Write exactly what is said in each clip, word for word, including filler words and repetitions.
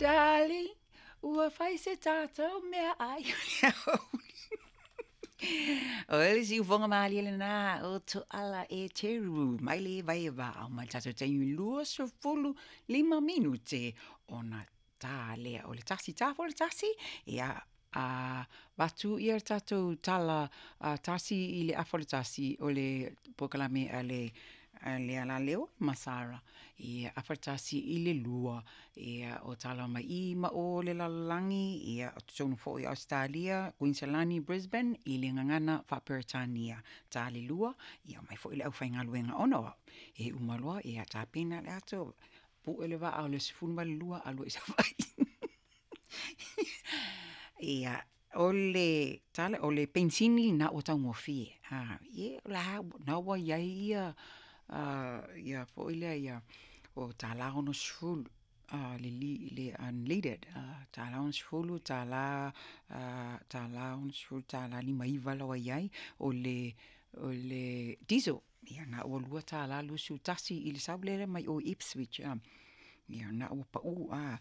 Darling, ua fai se tatou meaai. O le siufofoga malie lena o Tuala Eteru mai le Vaivao mai le tatou taimi luasefulu lima minute ona ta lea o le tasi, ta foi le tasi, ia a avatu ia le tatou tala a tasi i le afa o le tasi o le polokalame a le a le Alaleo ma Sara, ia afa le tasi i le lua, ia o tala mai i ma o le lalolagi, ia o totonu foi o Ausetalia, Kuiniselani, Brisbane, i le gagana faa-Peretania. Ta le lua, ia omai foi le aufaigaluega ona o au, e uma loa ia tapena le ato, pue le vaa o le sefulu ma le lua alu ai i Savaii. Ia, o le tala, o le penisini lena ua taugofie, a, ia o la e lena ua i ai ia ia foi lea ia o tala onosefulu le le unleaded, tala onosefulu, tala tala onosefulu, tala lima iva la ua i ai, o le o le diesel, ia na ua lua tala luasefulu tasi i le sau lea mai o i Ipswich. Ia na ua pau, a,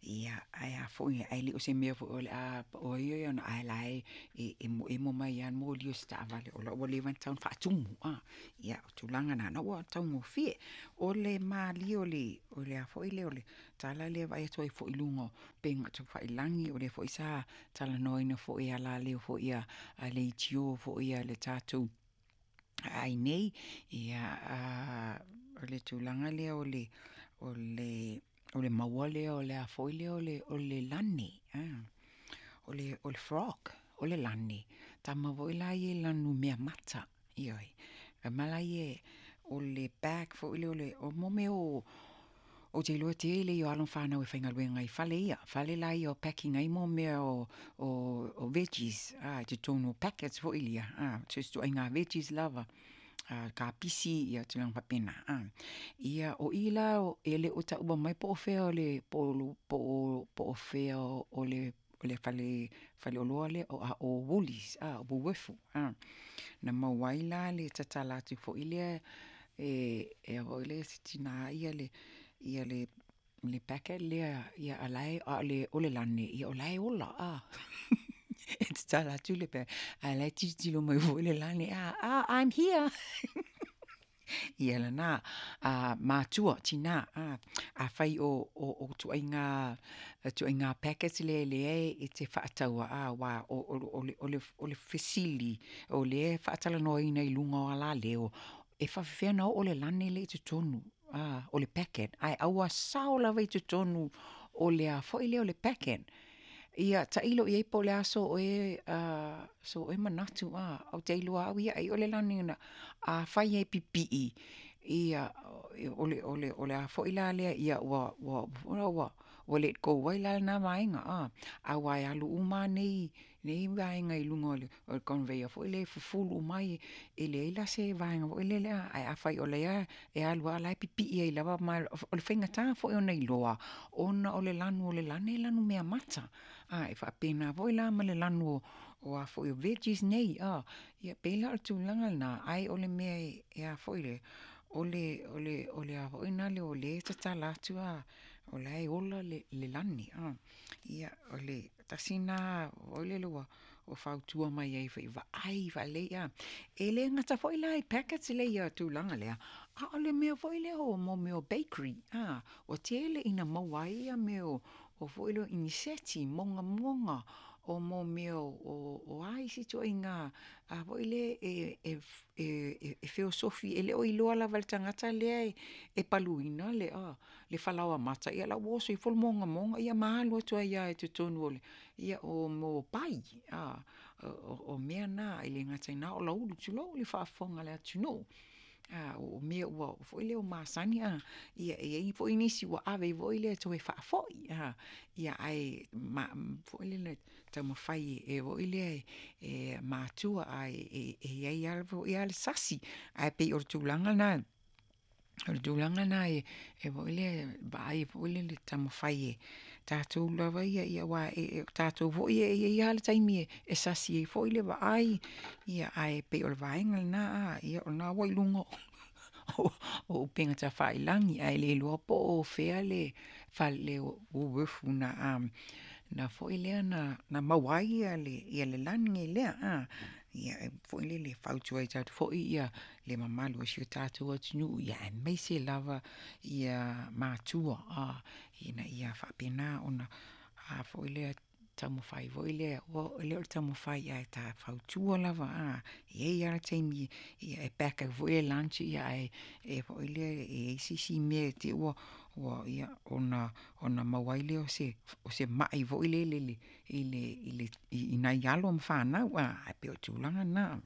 ia ae a foi ae le o se mea foi o le a pau ai ona ae la e emoemo mai lava le moli o si taavale o la ua leva ona tatau ona faatumu. A, ia o tulaga na, na ua taugofie. O le malie o le o le a foi lea o le tala lea e vaai atu ai foi i luga o upega tafailagi, o lea foi sa talanoaina foi e alaleo foi a leitio foi a le tatou aai nei, ia o le tulaga lea o le o le o le maua lea o le a foi lea o le o le lane, o le o le frog, o le lane, tama foi la ia e lanumeamata, ioe. Ma la ia o le bag foi lea o le o mea o ou te iloa e tele ia o alo ma fanau e faigaluega i fale ia, fale la ia o packing ai mo mea o o veggies a i totonu o packets foi ia, a, so o se ituaiga veggies lava, a kapisi ia tulaga faapena, a. Ia o i la e le o taua mai po o fea o le po o po o fea o le o le fale faleoloa lea a o Woolies, a o Woolworths, a. Na maua ai la le tatala atu foi lea e e foi lea e se tina ia le ia le le packet lea ia a o la e a o le lane, o la e ola, a. E tatala atu le packet ae o la e tilotilo mai foi le lane, a, I'm here. Ia lena, a matua, tina, a, afai o o o ituaiga ituaiga packets lea lea e te faataua, a, aua o o le o le o le fesili o lea e faatalanoaina i luga o alaleo, e faapefea ona oo le lane lea i totonu a, o le packet, ae aua sao lava i totonu o le a foi lea o le packet. Ia tailo i ai po o le a so oe so oe manatu, a, ou te iloa au ia ai o le lane na afai e pipii, ia o le o le o le a foi la lea ia ua ua ua ua let go ai la lena vaega, a, aua e alu uma lava nei nei vaega i luga o le o le conveyor foi lea e fufulu uma ai, e leai la se vaega foi lele, ae afai o lea e alu lava o la e pipii ai lava, ma o le faigata foi ona iloa, ona o le lanu o le lane e lanumeamata. A e faapena foi la ma le lanu o a foi o veggies nei, a, ia pei la o le tulaga lena, ae o le mea e a foi lea, o le o le o le a foi lea o lea e tatala atu a, o la e ola le le lane, a. Ia o le tasi lena foi lele ua ua fautua mai ai foi, vaai faalelei, a. E le gata foi la i packets lea i tulaga lea, a o le mea foi lea o mo mea o bakery, a, ua tele ina maua ai ia mea o o foi lea o iniseti, mogamoga, o mo mea o o a isi ituaiga a foi lea e e e e feosofi, e le o iloa lava e le tagata lea e paluina le a le falaoa mata, ia o la ua oso ifo le mogamoga ia ma alu atu ai lava i totonu o le ia o mo pai, a, o o mea na, e le gata i lena o lau ulu, tulou le faafofoga a le atunuu. A o mea ua foi lea ua masani a, ia e i ai foi nisi ua ave foi lea e toe faafoi, a, ia ae ma foi lele taumafai e foi lea e matua ae e i ai foi lava le sasi, ae pei o le tulaga lena, o le tulaga lena e foi lea vaai foi lele taumafai e tatou lava ia, aua o tatou foi e i ai lava le taimi e sasi ai foi le vaai, ia ae pei o le vaega lena, a, ia o lena ua i luga o upega tafailagi, ae le iloa po o fea le fale o Woolworths na na foi lea na na maua ai ia le ia le lani lea a. Ia e foi lele e fautua atu foi ia le mamalu o si o tatou atunuu, ia aemaise lava ia matua a, ina ia faapena ona a foi lea taumafai foi lea e le o le taumafai ae ta fautua lava a. E i ai lava le taimi e pack ai foi le lunch ae e foi lea e i ai se isi mea te i ua ia ona ona maua ai lea o se o se mai foi lele i le i le i nai alo ma fanau a, e pei o tulaga na.